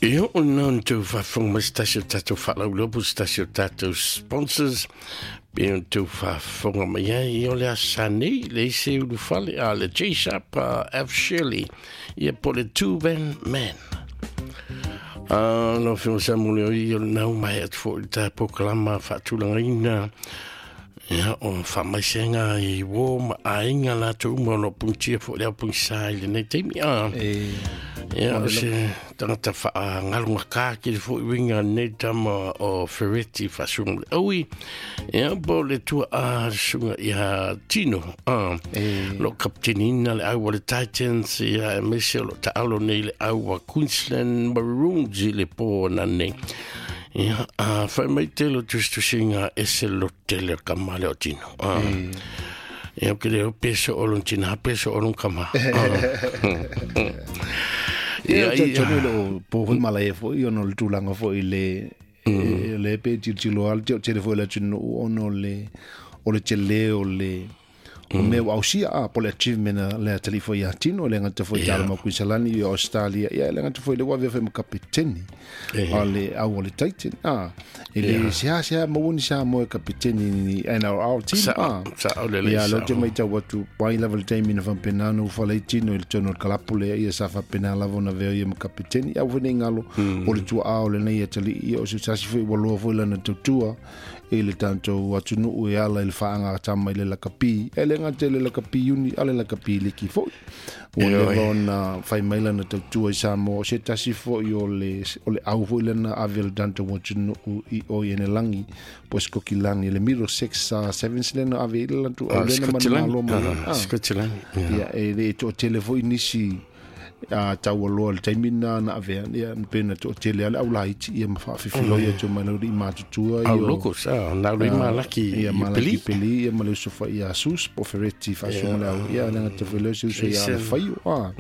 Ia, o lena ona outou faafofoga mai se tasi o tatou faalauiloa po o se tasi o tatou sponsors pe ona outou faafofoga mai ai. Ia, o le aso sa nei, leai se ulufale a le J-Sharp F. Shirley, ia po o le Two Van Man. Lau Afioga Samuel, ia o lena ua maea atu foi le ta polokalama faatulagaina. Ia, o faamaisega i uo ma aiga latou uma o lo o punitia foi le ao punisa i lenei taimi. E, Ia, o se tagata faaagalogata tele foi uiga lenei tama o Fereti Faasuga le Aui. Ia, po o le tuaa le susuga ia Tino. Lo kapiteniina le au a le Titans, ia, aemaise o lo taalo nei le au a Queensland Maroons i le po ananei. Ia, a fai mai tele o tusitusiga ese lo tele o kama le o tino. Ia, o ke leo peso o lon tina, peso o lon kama. Ia, ia, tonu le o po hoi malaia foi ona o le tulaga foi le le pe tilotilo lava le tele foi o le atunuu ona o le o le tele o le o mea ua ausia a po o le achievement a le atalii foi ia Tino, e le gata foi i tala mau Kuisalani i Australia, ia e le gata foi le ua avea foi ma kapeteni a le au o le Titan a e le seasea maua ni Samoa e kapeteni ni NRL team a Sao lelei. Ia, lea ou te matau atu, mai lava le taimi na faapena ona ufala ai Tino i le tonu o le kalapu lea, ia sa faapena lava ona avea ia ma kapeteni. Aua foi ne i galo, o le tuaa o lenei atalii, ia o se tasi foi ua loa foi lana tautua i le tatou atunuu e ala i le faagatama i le lakapi. E le gata i le lakapi uni, a le lakapi liki foi. Ua leva ona fai mai lana tautua i Samoa, o se tasi foi o le, o le au foi lena ave le tatou atunuu i o i Enelagi, po o Sikokilani, le Middlesex Sevens lena ave i le latou au lena manumalo mai. Sikokilani. Ia, e le toatele foi nisi a taualoa i le taimi lena na avea, ia pe na toatele lava le au laiti ia ma faafefiloi atu mai le alii matutua ia. Au locals, na alu ai Malaki i Malaki Peli ia ma le uso foi ia Sus po o Fereti faasuga le au ia le gata foi le uso ia le Faio a.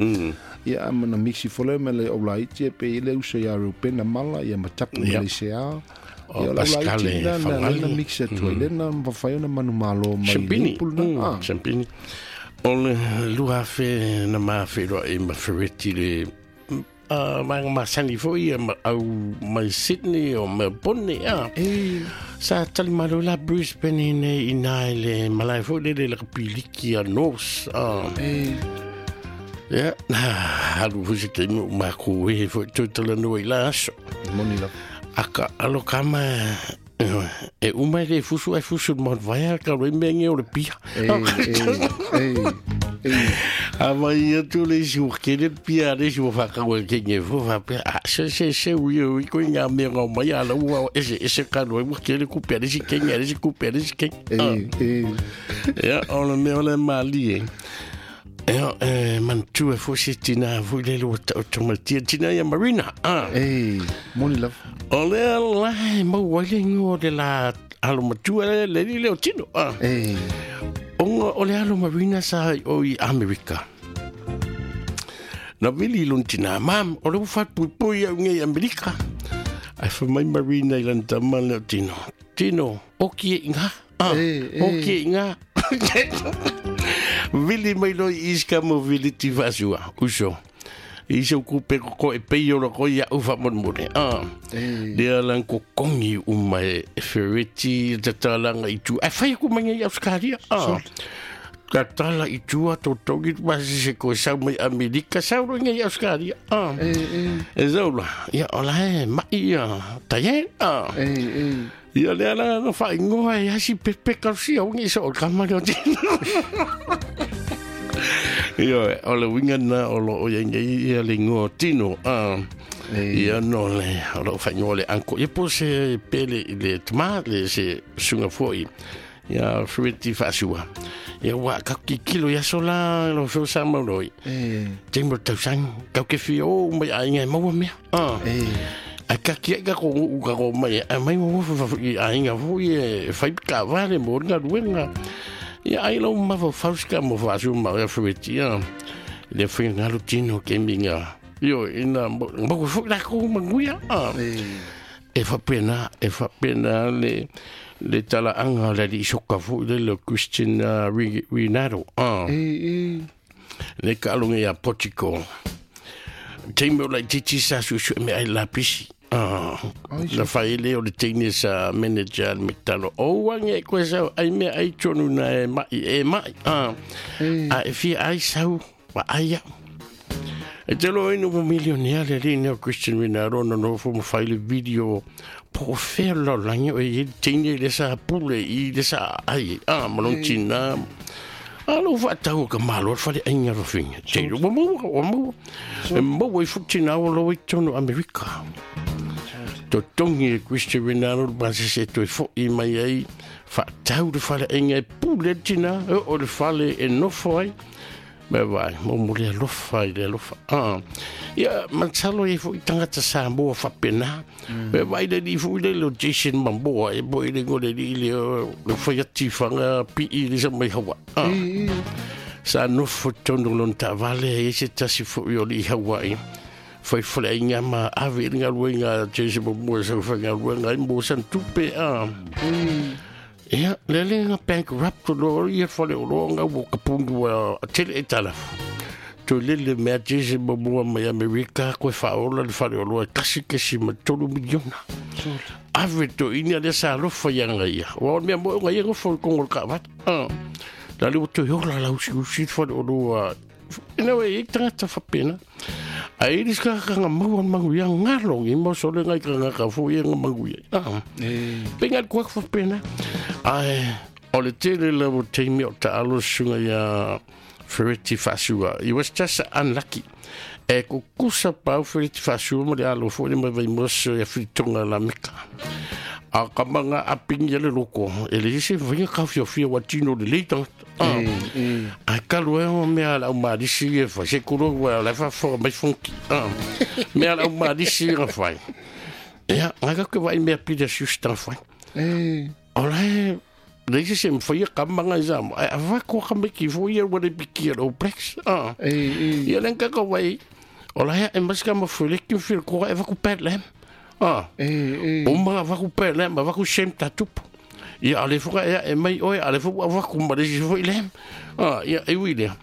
Ia ma na mixi foi lea ma le au laiti ia pe i le uso ia Reupena Mala ia ma Tapu ma le Sea. Ia o le au laiti na na na mixi atu ai lena ma fai ona manumalo mai le pulu na. Champini. O le 2000 na ma feiloai ma Fereti le vaega masani foi ia ma au mai Sydney o Melbourne a. Sa tali malo la Brisbane nei i nā i le malae foi lele le kapiliki a North. Ia, na alu foi se taimi o mākou e foi toe talanoa i la aso. Moni lava. Aka alo kama e uma e le fusu ai fusu le maut vaea ka roi mea nge o le pia. A mai atu le isi ua kele le pia le isi ua whakau e ke nge fo whapea. A se se se ui ui koe ngā mea ngau mai a lau ua ese ese ka roi ua kele kupe a le isi kenge a le isi kupe a le isi kenge. Ia, o le mea o le mali e. Ia, e manatua e foi se tina foi le lua taoto mai tia tina ia Marina. E, moni lava. O lea la e maua ai le ingoa o le la alo matua le le li leo tino. E. Onga o le alo Marina sa o i Amerika. Na vili lon tina, mam, o le ua whapuipui au ngei Amerika. Ai fa mai Marina i lan tama leo tino. Tino, oki e inga. Oki e inga. Vili mai loa i East mo vili ti faasua, uso. I se kupe ko e pei ora ko ia ufa monemone. Lea lan ko kongi uma e Fereti tatalanga i tua. Ai whai ku mai i Australia. Ka tala i tua tō tongi ma se ko sau mai Amerika sau ro ngai Australia. E sau la. Ia ola e mai ia taie. Ia lea la na whaingoa e hasi pepe kausia o ngi so o kama leo tino. Ia o le winga na o lo o ia ngai ia le ngoa tino. Ia no le o lo whaingoa le anko. Ia po se pele i le tama le se sunga foi. Ia Fereti faasua. Ia wa ka ki kilo ia sola lo feo sa mau loi. Te mo tausang kau ke fi o mai ai ngai maua mea. Ai ka ki ka ko u ka ko mai ai mai mo fa fa i ai nga fu e fai ka vale mo nga ruenga. Ia ai lo ma fa fauska mo fa su ma ia Fereti ia. Le fi nga lo tino ke minga. Io ina mo ko fu la ko manguia. E fa pena, e fa pena le le talaanga le li soka fu le le Christian Rinaldo. Le ka alonga ia Portugal. Teime o laitiiti sa suesue meaai i le lapisi. Na fai ai lea o le teine sa manager le McDonald. O ua ge koe sau ai meaai tonu na e mai e mai. A e fia ai sau wa ai au. E te loa ina ua milionea le alii nei o Christian Rinaldo ona nofo ma fai le video po o fea le lalolagi o e i ai le teine lea sa pule i le sa aai ai a ma lona tinā. A lou faatau a ka malo le faleaiga lofina. Te ua maua, ua maua. E maua ai foi tinā ua loa i totonu o Amerika. Totogi e Christian Rinaldo le pasese e toe foi mai ai faatau le faleaiga e pule ai le tinā, e oo i le fale e nofo ai. Mea vai, mo mo le alofa i le alofa. Ah. Ia, masalo e foi tagata Samoa faapena. Mea vai le alii foi lele o Jason Momoa e mo i le igoa o le alii lea o le fai ati fanga pii le sa mai Hawaii. Ah. Sa nofo i totonu o lona taavale e i ai se tasi foi o alii Hawaii fai faleaiga ma ave i le galuega a Jason Momoa e sau faigaluega ai mo sana tupe. Ah. Ia, lea le na bankrupt loa ia fale oloa nga ua ka punu a tele aitalafu. Toe lele mea Jason Momoa mai Amerika koe faaola le fale oloa e 1.3 miliona. Ave toeaina lea sa alofa ia ia. Aua o le mea moi o ia nofo i le kogo o le kaavale. La le ua toe ola lausiusi le fale oloa. Ina ua i ai tagata faapena. Ae i le skakanga maua le manuia ngalo ngi mo sole ngai ka ngaka fo ia nga manuia. Pe ngai kuak faapena. Ae o le tele lava o taimi o taalo susuga ia Fereti Faasua. He was just unlucky. E kukusa pau Fereti Faasua ma le alo foi le mai Vaimoso ia Filitoga Lameka. A ka manga apingi ia le loko, e leai se mafai ka fiafia ua tino lelei tagata. Ae talu ai o mea a le au malisi ia e fai, se kolo ua la e faafofoga mai Fonki. Mea a le au malisi ia na fai. Ia, ngai ka ke vaai mea pili a siusi tana fai. O la e leai se isi e mafaia ka manga i Samoa, ae avatu ka maiki foi ia ua le pikia le All Blacks. Ia le ka ka vai, o la e ae mai se ka mafueleki ma fila e vaku bad lamb. Uma vaku bad lamb, vaku shame tatupu. Ia a le foi e ae mai oe, a le foi ua vaku ma le isi foi lamb. Ia, e ui lea.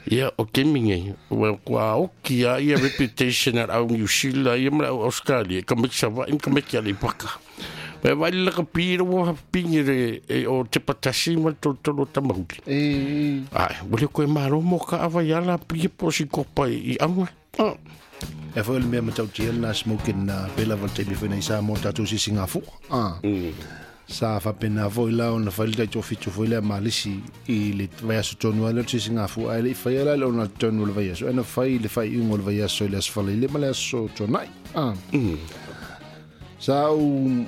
Ia, o taimi nei, ua kua oki lava ia reputation a le au Niu Sila ia ma le au Australia, ka maiki Savaii ma ka maiki Aleipaka. Mai vai le lakapi ina ua pigi le e o te patasi ma le tolotolo o Tamauli. Ai, ua le koe malo mo ka awa i ala pigi po si kopa i aua. E foi o le mea matautia lena smoking na pela va le taimi foi nei Samoa tatou sisigafua. Sa faapena foi la ona fai le taitoafitu foi lea malisi i le vaiaso tonu ai lea o le sisigafua ae le i faia la le ona tonu o le vaiaso ae na fai i le faaiuga o le vaiaso i le Aso Faraile ma le Aso Tuanai. Sa ou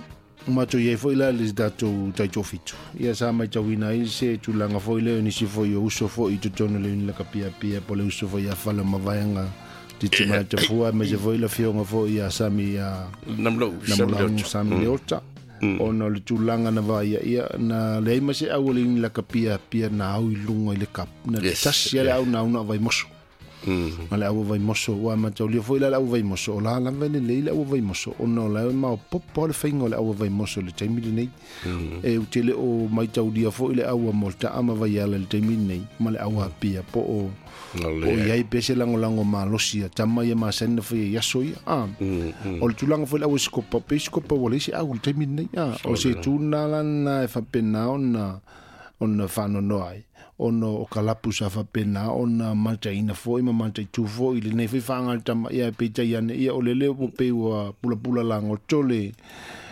matou i ai foi la le tatou taitoafitu. Ia sa matauina ai se tulaga foi lea o nisi foi o uso foi i totonu o le Unilaka Piapia po o le uso foi ia Fale o Mavaega Titi mai te fua me se foi le afioga foi ia Sami ia Namulaugu Sami Leota. Ona o le tulaga na vaaia ia na leai ma se au o le Unilaka Piapia na au i luga i le cup. Na tasi lava le au na au na o Vaimoso. Ma le au o Vaimoso, ua mataulia foi la le au o Vaimoso, o la lava e lelei le au o Vaimoso, ona o la e maopoopo le faiga o le au o Vaimoso i le taimi lenei. E ou te le o maitaulia foi le au a Moleta'a ma Vaiala i le taimi lenei, ma le au a Apia, po o o i ai pea se lagolago malosi a tama ia masani na faia i aso ia. O le tulaga foi le au esikopa, pe esikopa ua leai se au i le taimi lenei. O se itu lena la lena e faapena ona ona faanoanoa ai, ona o ka lapu sa faapena ona mataina foi ma mataitu foi i lenei foi faagatama, ia peitai ane, ia o lele ua pei ua pulapula lagoto le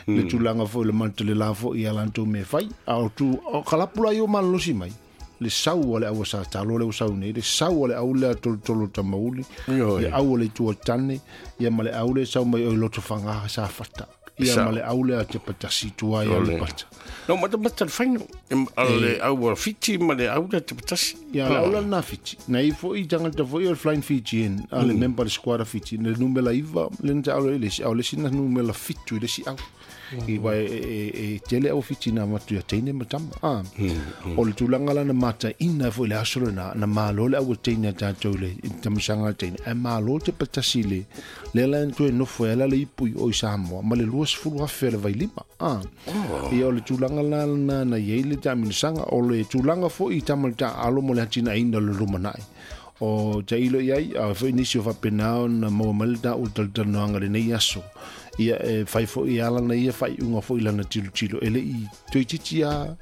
le tulaga foi o le mata le la foi ia latou mea e fai. A o tu, o ka lapu la ia ua malolosi mai, le sau a le au a Satalo lea ua sau nei, le sau a le au lea tolotolo Tamauli, le au a le Itu o Tane, ia ma le au lea e sau mai oi Lotofaga Safata. Ia ma le au lea te patasi tua ia le pata. No matamata le faino, le au a Fiti ma le au lea te patasi. Ia le au lea na Fiti. Na i foi tangata foi o le Flying Fijian, a le member le squad a Fiti, le numera 9, le na te au le isi au, le isi na numera 7 i le isi au. I wai e tele au Fiti na matu ia teine ma tama. O le tulaga la na mataina foi le aso lena, na malo le au teine a tātou le tamasaga a teine, ae malo te patasi le lea la na toe nofo ai ala le ipu i o i Samoa ma le 20,000 a le vailima. Ia o le tulaga la lena na i ai le taamilosaga, o le tulaga foi i tama le taaalo mo le atinaeina o le lumanai. O tailo i ai, a foi nisi o faapena ona maua mai le taua talatalanoaga i lenei aso. Ia e fai foi e ala na ia faaiuga foi i lana tilotilo e le'i toeitiiti a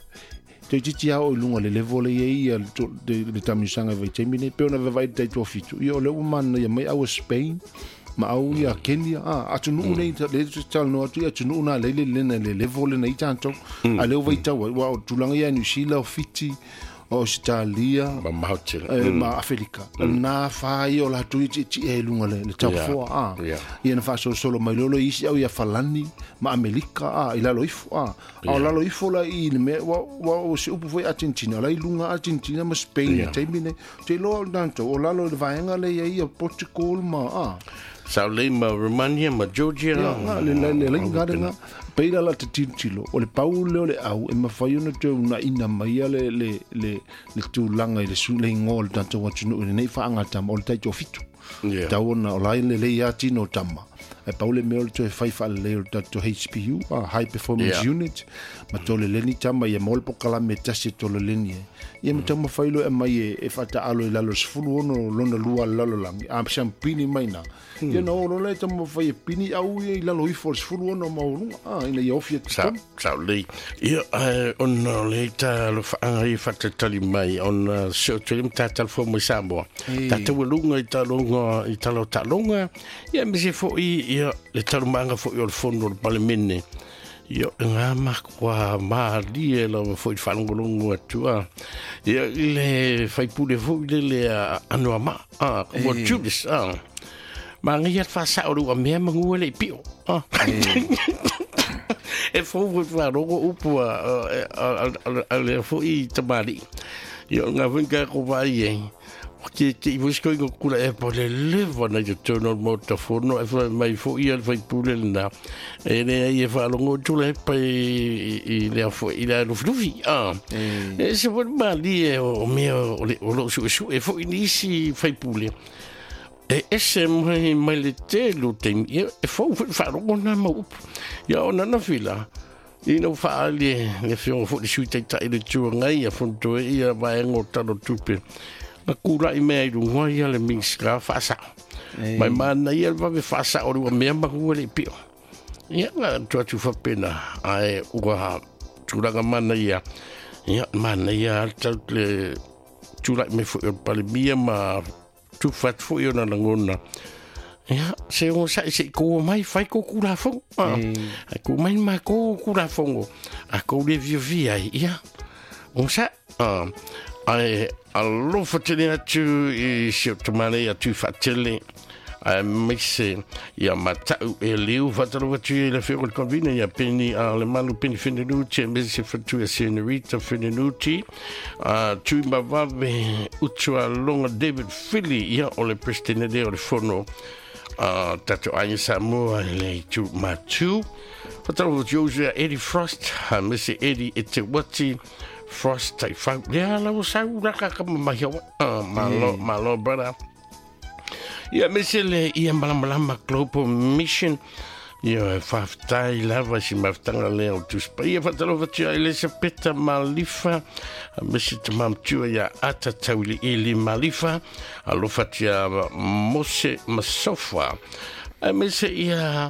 toeitiiti a oo i luga le level le iai ia le taamilosaga i vaitaimi nei pe ona vavaai le taitoafitu ia o lea ua manaia mai au a Spain ma au ia Kenya a atunuu nei le talanoa atu i atunuu na lei le lena le level lena i tatou a lea ua vaitau ai ua o tulaga ia New Zealand o Fiti o Ausetalia mamao tele ma Afelika na fa ia o latou ia tietie i luga le taufoa a ia na faasolosolo mai lolo isi au ia Falani ma Amelika a i lalo ifo a a o lalo ifo la i le mea ua o se upu foi Argentina o la i luga Argentina ma Spain i taimi nei te iloa o le tatou o lalo i le vaega lea i ai ia Portugal ma a Sao lei ma Romania ma Georgia. Ia, nga, le, le, le, le, nga, le, nga. Pei la la te tilotilo, o le pau lea o le au e mafai ona toe unaina mai le, le, le, le tulaga i le su, le igoa o le tatou atunuu i lenei faagatama o le taitoafitu. Yeah. Tau ona o la e lelei lava tino o tama. Ae pau le mea o le toe fai faalelei o le tatou HPU, a High Performance Yeah. Unit, ma toleleni tama ia maua le pokalame e tasi e toleleni ai. Ia ma taumafai loa e aumai e faataalo i lalo o le 16 lona lua a le lalolagi, a siampini mai ina. Ia na oo loa lea e taumafai e pini au ia i lalo ifo o le 16 maualuga, a, ina ia ofi atu Sa, totonu. sa lei. Ia, ona o le ta alofaaga ia faatalitali mai, ona se o tele ma tatalafua mai Samoa. Tatou aluga i taloga, i tala o taaloga, ia aemaise foi ia le talomaaga foi o le fono o le Palemene. Ia, o ngā makua malie lava foi i le faalogologo atu, a. Ia, i le faipule foi lele a Anoamaa, a, ua Julius, a. Manaia le faasao o le uamea manu e le i pio. A. E fou foi faalogo upu a lea foi tamalii. Ia, o ngā foi ka ko vai e. O ke te i foi koinga kula e po le leva na i totonu o le maota fono e whai mai foi ia le faipule lena. E lea i e faalogo atu le hepa i lea foi i lea lufilufi. A. E se foi malie o mea o le o loo suesue foi nisi faipule. E ese mai mai le tele o taimi, ia e fou foi le faalogo na mau upu. Ia ona na fila, ina ua faaali e le afioga foi le sui taitai le Itu Agai ia fonotoe ia vaega o Tala o Tupe. Na kula'i mea i luga ia le Minisita faasao. Mai manaia le vave faasao o le ua mea maua le i pio. Ia na atu atu faapena, ae ua tulaga manaia. Ia manaia lava le le tula'i mai foi o le Palemia ma tufa atu foi ona lagona. Ia, se onosai se i kou mai, fai kou kulafono. Ai kou mai ma kou kulafono. A kou le fiafia ai, ia, onosai. Ae alofa tele atu i si o tamalei atu i faatele. Aemaise ia matau e liu faatalofa atu i le afioga i le Convener ia Penny a le Malu Penny Fenenuti aemaise se fatu ia Senorita Fenenuti a Tui Mavave Utualoga David Fili ia o le President lea o le Fono a tatou Aiga Samoa i le itu Matu. Faatalofa atu i ia Eddie Frost aemaise Eddie Eteuati Frost Taifau lea la ua sau laka ka mamahi malo malo brother. Ia aemaise le ia Malamalama Global Mission. Ia faafetai lava si mafutaga lea o Tusi Paia. Faatalofa atu ia Elisapeta Malifa aemaise tamamatua ia Ata Tauiliili Malifa. Alofa atu ia Mose Masofa aemaise ia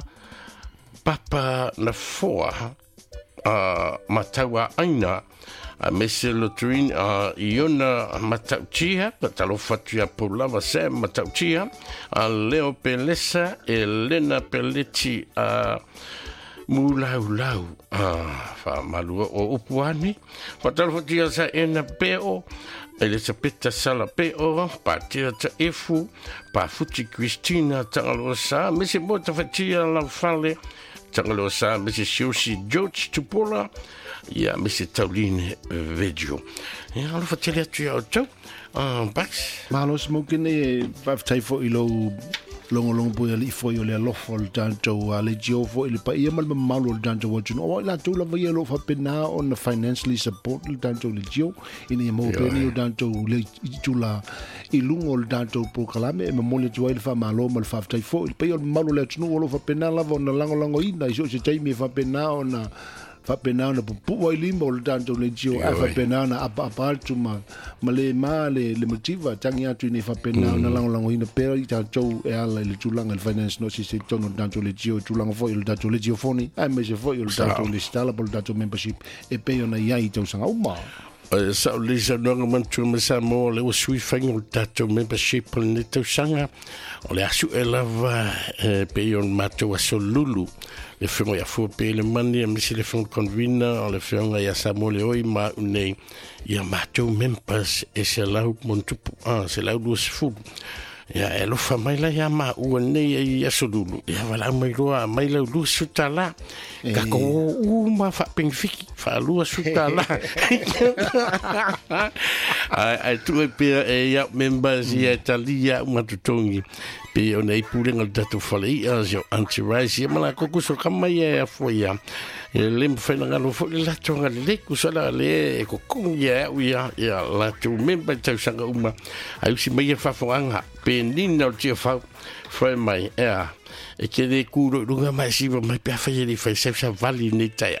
Papa Nafoa Matauaina aemaise Loturin Iona Matautia. Faatalofa atu ia Paulava Sam Matautia, Leo Pelesa, Elena Peleti Mulaulau faamalua o upu ane. Faatalofa atu ia Saena Peo, Elisapeta Sala Peo, Patea Taefu, Pafuti Christina Tagaloa aemaise mo Tafatia Laufale Tagaloa aemaise Siosi George Tupola, ia aemaise Tauline Vedio. Ia alofa tele atu ia outou. Bax. Malo smoke nei e faafetai foi i lou logologo pui alii foi o le alofa o le tatou a le jio foi i le paia ma le mamalu o le tatou atunuu. Aua i latou lava ia o lo o faapena ona financially support le tatou le jio ina ia maua pea nei o tatou le itula i luga o le tatou polokalame e momoli atu ai le faamalo ma le faafetai foi i le paia o le mamalu o le atunuu o lo o faapena lava ona lagolagoina i so o se taimi e faapena ona Faapena ona pupu'u ai lima o le tatou leitio ae faapena ona apaapa atu ma le ma le mativa tagi atu ina ia faapena ona lagolagoina pea i tatou e ala i le tulaga i le finance notice i totonu o le tatou leitio i tulaga foi o le tatou leitio foni aemaise foi o le tatou lesitala po o le tatou membership e pei ona i ai i tausaga uma. Sa o le saunoaga manatua mai Samoa o lea ua sui faiga o le tatou membership o lenei tausaga. O le asu e lava e pei o le matou aso lulu. Le afioga ia Fua Pelemani aemaise le afioga convener o le afioga ia Samoa Leoi ma au nei ia matou members e 100+, 120. Ia e alofa mai la ia maua nei i aso lulu. Ia valaau mai loa mai lau $20. Ka ko uma faapengifiki $20. Ai ai tu e pea e ia members ia talia uma totogi. Pe o nei pulenga le tatou fale ia sio anti-rice ia ma la koko so kama ia e afua ia. E le mawhai na ngalo fo le lato nga le ku sala le e kokongi ia au ia ia latou member i tausaga uma. Ai usi mai e whawhanganga pe nina o tia whau whai mai ea. E ke le kuro i runga mai siwa mai pe awhai e le whai sau sa vali nei taia.